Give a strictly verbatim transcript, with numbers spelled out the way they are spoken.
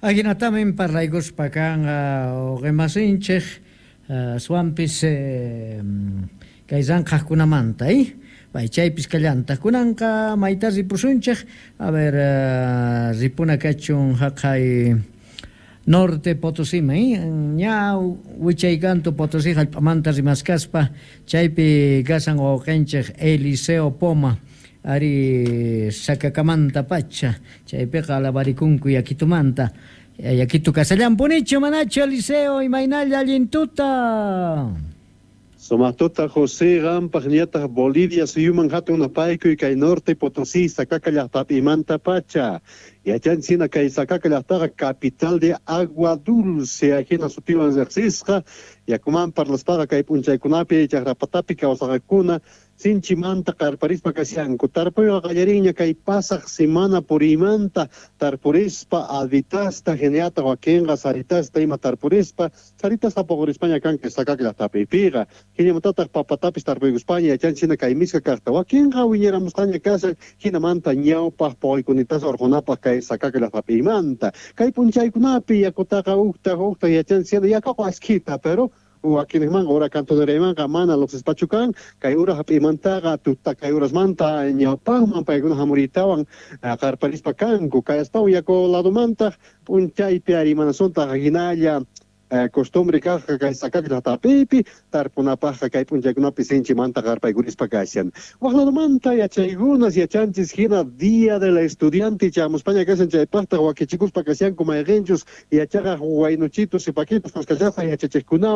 Ajinatamin parlaykuspa kanqa uqimasinchik aswanpis kay ranqhaqkunamanta, eh? Pay chaypis kallantaq kunanqa mayta ripusunchik, a ver, ripuna kachun haqay Norte Potosíman, eh? Ña wichaykantu Potosí hallp'amanta rimaskaspa chaypi kashan wawqinchik Eliseo Poma ari Sacacamantapacha chaypiqa alabarikunku yakitumanta. Yakitu kasallanpunichu manachu, Eliseo? Imaynalla, allin tuta. Sumaq tuta, José. Qampaq ñataq Bolivia suyuman hatun napaykuy kay Norte Potosí Sacaca llaqtapimanta pacha. Yachanchik hina kay Sacaca llaqtaqa capital de agua dulce ajina sutiwan riqsisqa. Yakuman parlaspaqa kay p'unchaykunapi chaqrapatapi kawsaqakuna sinchimanta qarparispa kashanku. Tarpuyqa qallarinña kay pasaq semana puriymanta tarpurispa albitasta hinallataq wakinqa saritasta ima tarpurispa saritasqa puqurispaña kan kay Sacaca llaqtapipiqa. Hinamantataq papatapis tarpuykuspaña yachanchik hina kay miska kaqta wakinqa wiñaramusqaña kashan hinamanta ñawpaq puquykunitasa urqunapaq kay Sacaca llaqtapimanta. Kay p'unchaykunapi yakutaqa uqtaq uqtaq yachanchik hina yakuqa askhita, pero wakinmanqa ura cantoneraymanqa mana luqsispachu kan kay ura hap'iymantaqa tuta kay urasmanta ñawpaqman paykuna hamuriytawan qarparispa kanku. Kay astawan yaku ladomantaq p'unchaypi ari manasuntaq hinalla costumbre kaqqa kay Sacaca llaqtapipi tarpunapaqqa kay p'unchaykunapi sinchimanta qarpaykurispa kashan. Waq ladomanta yachaykunas yachanchis hina Día del Estudiante chamuspaña kashan chaypaqtaq wakichikuspa kashanku mayqinchus yachaqaq waynuchitus sipakitus kuskachasqa yachachiqkunawan.